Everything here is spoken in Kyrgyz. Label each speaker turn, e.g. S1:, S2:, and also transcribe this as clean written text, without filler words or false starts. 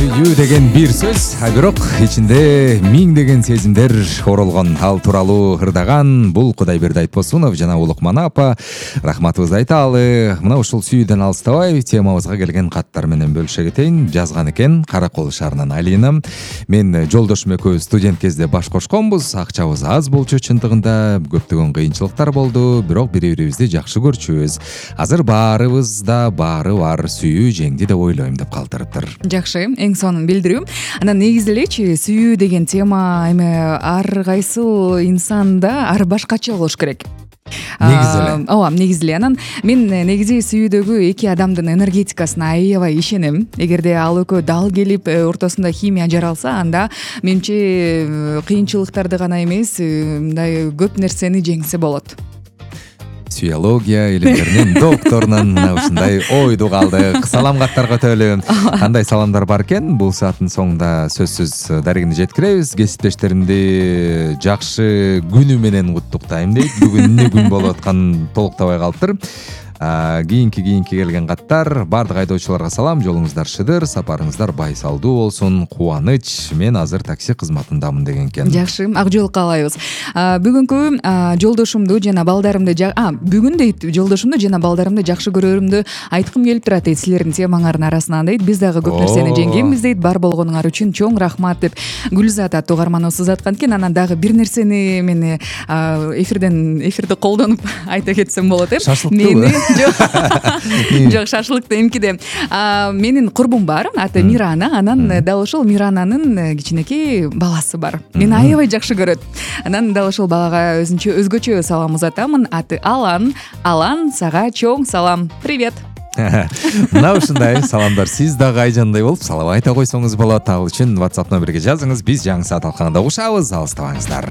S1: сүйүү деген бир сөз, а бирок ичинде миңдеген сезимдер оролгон. Ал тууралуу ырдаган бул Кудайберди Айтбосунов жана Улукман апа. Рахматыбызды айталы. Мына ушул сүйүүдөн алыстабай темабызга келген каттар менен бөлүшө кетейин. Жазган экен Каракол шаарынан Алина. Мен жолдошум экөөбүз студент кезде баш кошконбуз. Акчабыз аз болчу чындыгында, көптөгөн кыйынчылыктар болду, бирок бири-бирибизди жакшы көрчүбүз. Азыр баарыбызда баары бар, сүйүү жеңди деп ойлойм деп калтырыптыр.
S2: Жакшы, эң сонун билдирүү. Анан негизи элечи сүйүү деген тема эми ар кайсыл инсанда ар башкача болуш керек.
S1: Негизи эле.
S2: Ооба, негизи эле. Анан мен негизи сүйүүдөгү эки адамдын энергетикасына аябай ишенем. Эгерде ал экөө дал келип ортосунда химия жаралса, анда менимче кыйынчылыктарды гана эмес, мындай көп нерсени жеңсе болот.
S1: Сүйология илимдеринин докторунан мына ушундай ойду калдык. Салам каттар көтөлү. Кандай саламдар бар экен? Бул сааттын соңунда сөзсүз дарегине жеткиребиз. Кесиптештеримди жакшы күнү менен куттуктайм дейт. Бүгүн эмне күн болуп атканын толуктабай калыптыр. Кийинки келген каттар. Бардык айдоочуларга салам, жолуңуздар шыдыр, сапарыңыздар байсалдуу болсун, кубаныч. Мен азыр такси кызматындамын деген экен.
S2: Жакшы, ак жол каалайбыз. Бүгүнкү жолдошумду жана балдарымды бүгүн дейт, жолдошумду жана балдарымды жакшы көрөрүмдү айткым келип турат дейт, силердин темаңардын арасынан дейт. Биз дагы көп нерсени жеңгенбиз дейт. Бар болгонуңар үчүн чоң рахмат деп Гүлзат аттуу угарманыбыз жазаткан экен. Анан дагы бир нерсени мен эфирди колдонуп айта кетсем болот деп.
S1: Шашлыктыбы?
S2: Жок, шашлыкты эмкиде. Менин курбум бар, аты Мирана. Анан дал ошол Мирананын кичинекей баласы бар. Мени аябай жакшы көрөт. Анан дал ошол балага өзгөчө салам узатамын. Аты Алан. Алан, сага чоң салам. Привет.
S1: Мына ушундай саламдар сиз дагы айжандай болуп салам айта койсоңуз болот. Ал үчүн WhatsApp номерге жазыңыз. Биз жаңы саат алкагында угушабыз. Алыстабаңыздар.